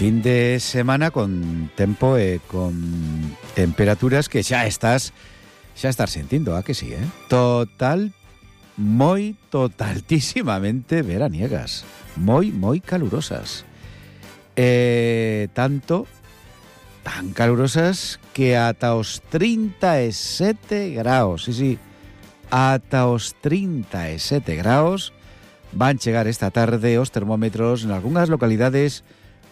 fin de semana con tempo e con temperaturas que xa estás sentindo, a que sí, totaltísimamente veraniegas, moi calurosas. Tan calurosas que ata os 37 graus, sí, ata os 37 graus van chegar esta tarde os termómetros en algunhas localidades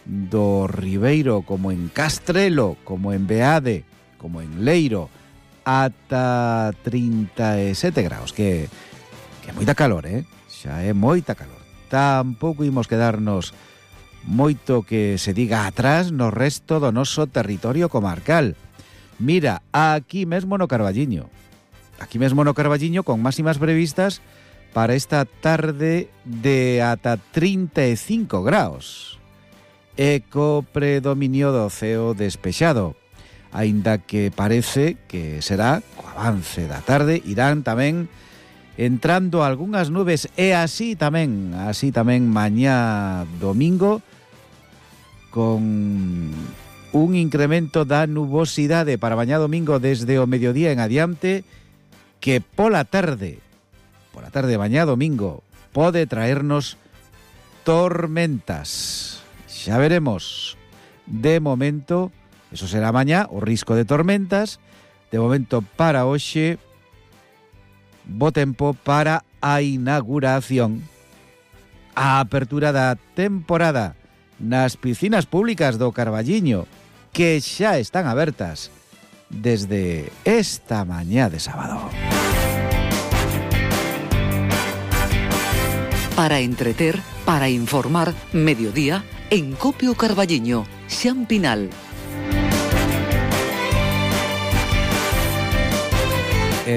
do Ribeiro, como en Castrelo, como en Beade, como en Leiro, ata 37 graus, que é moita calor, xa é moita calor. Tampouco imos quedarnos moito que se diga atrás no resto do noso territorio comarcal. Mira, aquí mesmo no Carballiño, con máximas previstas para esta tarde de ata 35 graus. Eco predominio do ceo despexado, aínda que parece que será co avance da tarde irán tamén entrando algunhas nubes e así tamén mañá domingo con un incremento da nubosidade para mañá domingo desde o mediodía en adiante que pola tarde mañá domingo pode traernos tormentas. Xa veremos. De momento, eso será mañá, o risco de tormentas. De momento, para hoxe, bo tempo para a inauguración, a apertura da temporada nas piscinas públicas do Carballiño, que xa están abertas desde esta mañá de sábado. Para entreter, para informar, mediodía en Copio Carballiño, Xan Pinal.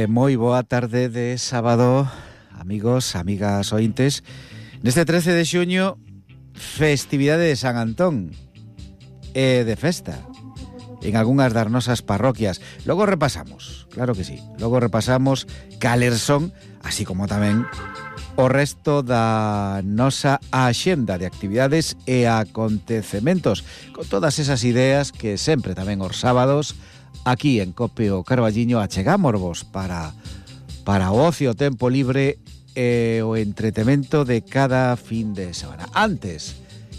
Moi boa tarde de sábado, amigos, amigas ointes. Neste 13 de xuño, festividade de San Antón e de festa en algunhas das nosas parroquias. Logo repasamos, claro que sí, cales son, así como tamén o resto da nosa axenda de actividades e acontecementos, con todas esas ideas que sempre tamén os sábados aquí en Copio Carballiño achegámosvos para o ocio, tempo libre e o entretemento de cada fin de semana. Antes